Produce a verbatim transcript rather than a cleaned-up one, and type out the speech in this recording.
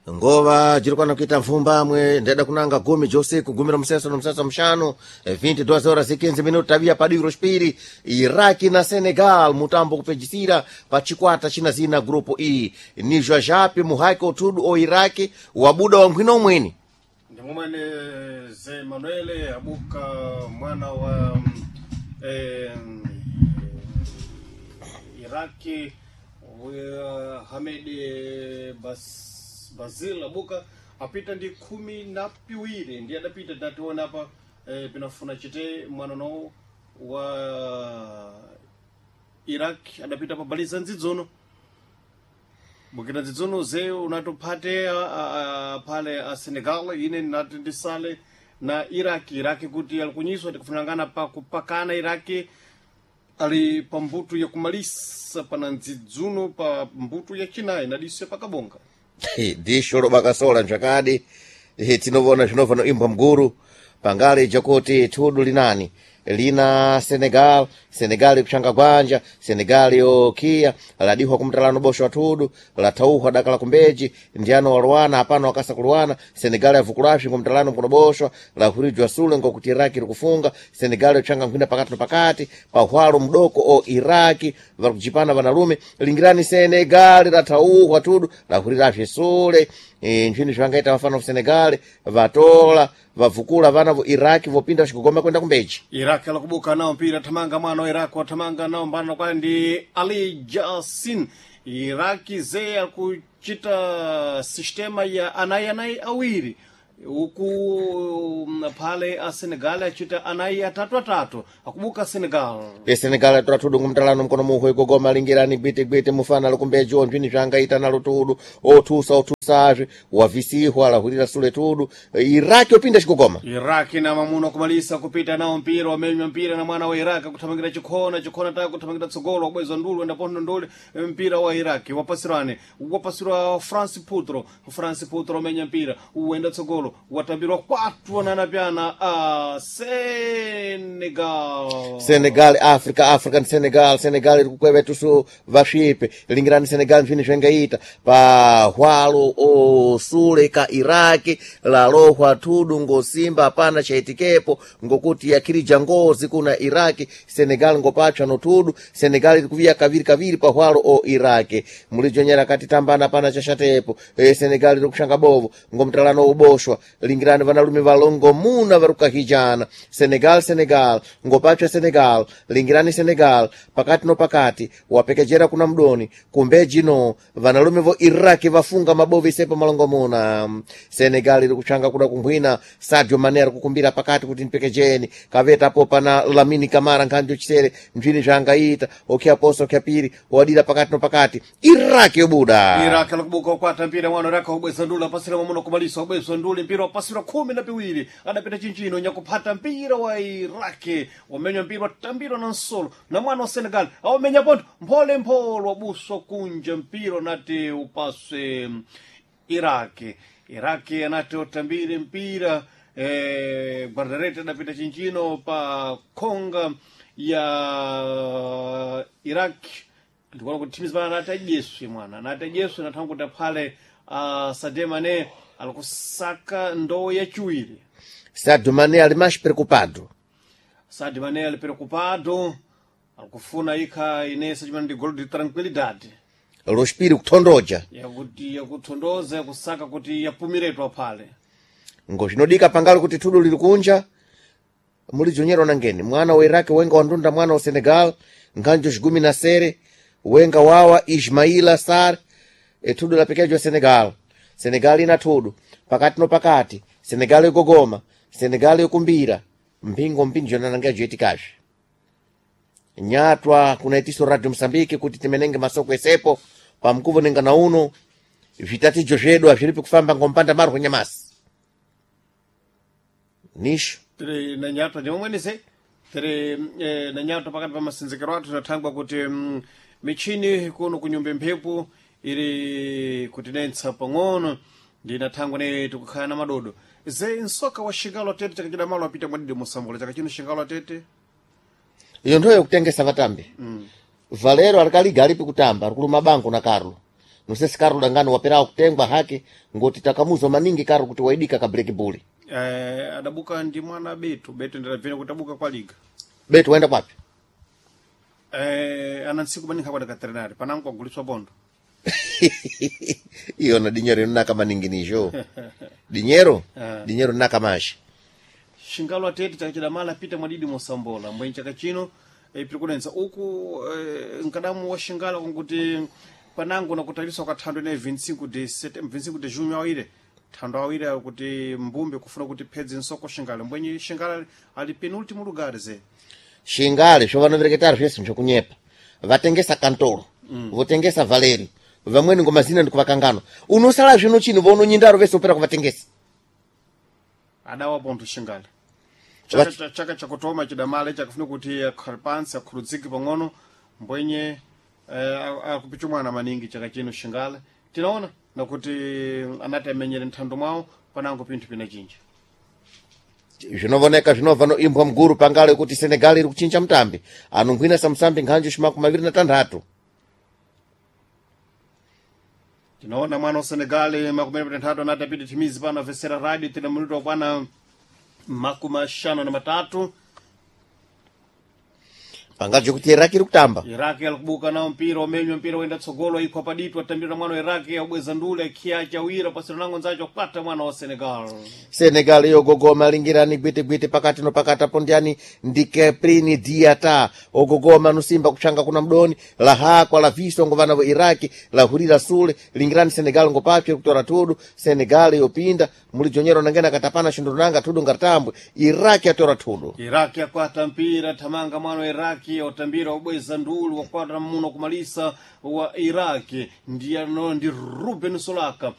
Ngova jirikwana kuita mfumbamwe ndeda kunanga gumi josiku gumi ra museso na museso mshanu eh, vinte e duas horas e quinze minutos. Tabia padiro rospiri Iraki na Senegal, mutambo kupejisira pa chikwata china zina grupo E ni jwajapi muhaiko tudu o Iraki wabuda wa nkhwina umweni. Ndimumwene ze Manuele abuka mwana wa eh, Iraki wa Hamed Bas, Bazil abuka apita ndi khumi na piwiri ndi adapita tationa apa eh, pinafuna chite mwana no wa Iraq adapita pabaliza nzidzono bukira dzidzono ze unatophate a- a- a- phale a Senegal ine nati ndisale na Iraq. Iraq kuti alikunyiswa tikufunangana pa kupakana. Iraq ali pa mbuto yakumalisa pana ndzidzuno pa mbuto yachinayi nadiso pakabonga. Disho lobakasola nzvakadi. Eh, tinovona zvinovha noimbwa mguru pangale jakuti thudu linani lina Senegal. Senegal ikushanga gwanja, Senegal yokiya ladihwa kumtalano bosho wa thudu lathauhwa daka la kumbeji ndiano waluwana hapana wakasa kuluwana. Senegal yavukulapsi ngomtalano mkunoboshwa lahurijwa sule ngokuti Iraki likufunga. Senegal yochanga nkhwina pakati na pakati pahwalo mdoko o Iraki varikujipana vanalume. Lingirani, Senegal lathauhwa thudu lahurirapsi sule. e, nchini zvangaita vafana ku Senegal vatola vavukula vana vo Iraki vopinda vachigogoma kwenda kumbeji. Iraq alakubuka nao mpira thamanga mwana wa Iraq wathamanga nao mbana kwale ndi Ali Jasin. Iraki ze akuchita sistema ya anayi anayi awiri uku mm, phale a Senegal achita anayi atatu atatu. Akubuka Senegal. E Senegal atora thudu ngumtalano mkono muho igogoma. Lingirani, gwite gwite mufana lukumbeji onjwini zvangaita nalo tudu othusa othusazve wavisihwa lahurira sule tudu. Iraki opinda chigogoma. Iraki na mamuno kumalisa kupita nao mpira wamenywa mpira na mwana wa Iraki kuthamangira chikhona chikhona taka kuthamangira tsogolo wabweza ndulu enda pondo nduli mpira wa Iraki wapasirane wapasirwa France Putro. France Putro wamenya mpira uenda tsogolo watambirwa kwatu wananapyana a Senegal. Senegal, Africa, African Senegal. Senegal iri kukweva tusu vasvipe. Lingirani, Senegal mphini zvengaita pahwalo osule ka Iraki lalohwa thudu ngosimba hapana chaitikepo ngokuti yakhirija ngozi kuna Iraki. Senegal ngopachwa no thudu. Senegal iri kuviya kaviri kaviri pahwalo o Iraki mulijonyera kati tambana pana chashatepo. e, Senegal iri kushanga bovo ngomtalano uboshwa. Lingirani, vanalume valongo muna varukahijana. Senegal, Senegal ngopachwa Senegal. Lingirani, Senegal pakati no pakati wapekejera kuna mdoni kumbeji no vanalume vo Iraki vafunga mabovi sepo malongo muna. Senegal iri kuchanga kuda kumphwina. Sadio Mane ari kukumbira pakati kuti mpekejeni kavetapo pana Lamini Kamara nkhanjo chisere mphini zvangaita okyaposa okyapiri wadira pakati no pakati Iraki yobuda. Iraq alakubuka kwata mpira mwana Iraq wabweza ndulu apasira mamuno kumalisa wabweza ndulu mpira wapasira khumi na piwiri adapita chinchino nyakuphata mpira wa Iraq wamenywa mpira watambirwa na nsolo na mwana wa Senegal awamenya pontho mphole mpholo wabuswa kunja mpira unati upaswe Iraq. Iraq anati utambire mpira eh, guardarete adapita chinchino pa khonga ya Iraq. Ndikuona kuti timu zimene anati adyeswe mwana anati adyeswe nathangu kuti aphale uh, Sadio Mane alikusaka ndowe yachiwiri. Sadio Mane ali mais preocupado. Sadio Mane ali preocupado, alikufuna ikha inese chimene ndi golo de tranquilidade. Lospiri kuthondoja. Yakuti yakuthondoza yakusaka kuti yapumiretu aphale. Ngozvinodika pangalo kuti thudu liri kunja mulijonyera nangeni mwana wa Iraki wenga wandunda mwana wa Senegal nkhanjo xigumi na sere wenga wawa Ismaila Sar. Ethudu lapekejwa Senegal. Senegal ina thudu pakati no pakati. Senegal igogoma, Senegal ikumbira mpingo mpinjo nanangejo joitikazve nyatwa kunaitiso Radio Msambiki kuti timenenge masoko esepo pamkuvo nenga na uno vitatijo zvedu azviripi kufamba ngompanda marwo nyamasi nisho. Tiri na nyatwa ndimomwenese tiri eh, na nyatwa pakati pa masinzikiro athu tathangwa kuti mm, michini kuno kunyumba mphepo iri kutinetsa pang'ono ndinathangwa ne tikukhala na madodo ze nsoka wa xingalo atete chakachida malo apita mwadidi musambula chaka chino xingalo atete. Iyo nthoyo yokutengesa vatambi mm. Valero alikaliga alipi kutamba alikuluma bango na Carlo. Nusesi Carlo Dangano waperawo kutengwa hake ngoti takamuzo maningi Carlo kuti waidika ka break bully. Eh, adabuka ndi mwana Beto. Beto ndadabvera kuti abuka kwa liga. Beto waenda kwapi? Eh, ana ntsiku maningi akwada katrenari panango aguliswa bondo. Iyo na dinyero inonaka maningi nijo. Dinyero? Ah. Dinyero naka mashi. Shingalo atete chaka chidamala apita mwadidi mosambola mbweni chaka chino eh, piri kunenza uku eh, nkadamu wa shingalo kunguti panango nakutaliswa kwa thando ine vinte e cinco de setembro, vinte e cinco de junho awire thando awire kuti mbumbe kufuna kuti phedze nsoko shingalo mbwenye shingalo ali penúltimo lugar ze. Shingale sho vanovereketari zvese zvokunyepa. Vatengesa Kantoro, mm. votengesa Valeri, vamweni ngomazina ndikuvakanganwa. Unosala zvino chino vounonyindaro vese opera kuvatengesa. Adawa pontho shingalo chaka, cha- chaka chakutoma chidamala chakufuna kuti akhale pansi akhuludzike pang'ono mbwenye eh, akupichumwana maningi chaka chino shingale tinaona nakuti anati amenyere nthando mwawo panango pinthu pina chinji. Zvinovoneka zvinobva noimbwa muguru pangale kuti Senegal iri kuchinja mutambi. Anonghwina samusambi nkhanju shimaku maviri na tanthatu. Tinaona mwana wa Senegal makumi anayi na anthatu anati apite timizi pano avesera radio tina minuto akwana makumi axanu na matatu. Pangaje kuti Iraq iri kutamba. Iraki alikubuka nao mpira umenywa mpira wenda tsogolo ikhwa padito atambira mwana wa Iraki abweza ndule akhiya chawira pasina nango nzacho kwata mwana wa Senegal. Senegal yogogoma lingirani gwiti-gwiti pakati no pakati apo ndiani ndi Keprini Diata ogogoma nusimba kuchanga kuna mdoni lahakwa la viso ngo vana va Iraki lahurira sule lingirani Senegal ngo papye kutora tudu. Senegal yopinda mulijonyero nangena katapana shindunanga tudu ngatambwe Iraki atora tudu. Iraki akwata mpira thamanga mwana wa Iraki otambira obweza ndulu wakwata muno kumalisa wa Iraki ndiye ano ndi Ruben Solaka.